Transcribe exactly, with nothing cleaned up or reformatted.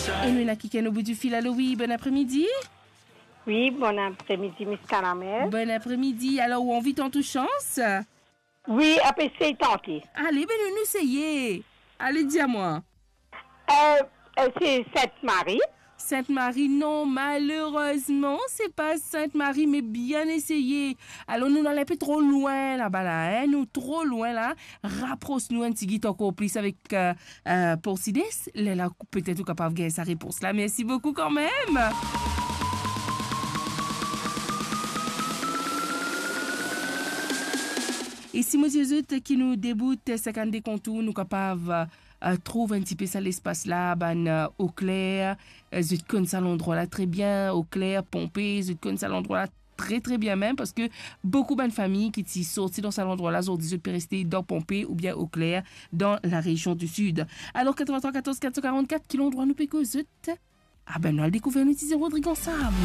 E nou ena kikenn o bout di fil. Alo, wi, bon apremidi. Wi, bon apremidi, Miss Kanamel. Bon apremidi. Alor, ou anvi tant ou sans? Wi, ap esey tante. Ale, be, nou, nou eseye. Ale, dir mwa. Euh, euh, c'est Sainte-Marie. Sainte-Marie, non, malerezman, se pa Sainte-Marie, me bien eseye. Alor, nou al inpe tro lwin laba la, hein, nou tro lwin la. Rapros nou enn tigit ankor plis avek, euh, euh, Porcides. Lerla, petet ou kapav gagn sa repons la. Mersi boukou kanmem. E si mo dir zot ki nou debout, euh, sinkannde kontour, nou kapav, euh, trouv enn tipe sa lespas la, bann, euh, Eau Claire, euh, zot konn sa landrwa la tre bien, Eau Claire, Ponpe, zot konn sa landrwa la tre, tre bien mem, parski boukou bann fami ki ti sorti dan sa landrwa la, zordi zot pe reste dan Ponpe oubien Eau Claire, dan la rezion di Sid. Alor, quatre-vingt-trois quatorze quatre cent quarante-quatre, ki landrwa nou pe koz zot? Ah ben, nou al dekouver nou ti Rodrig ansam.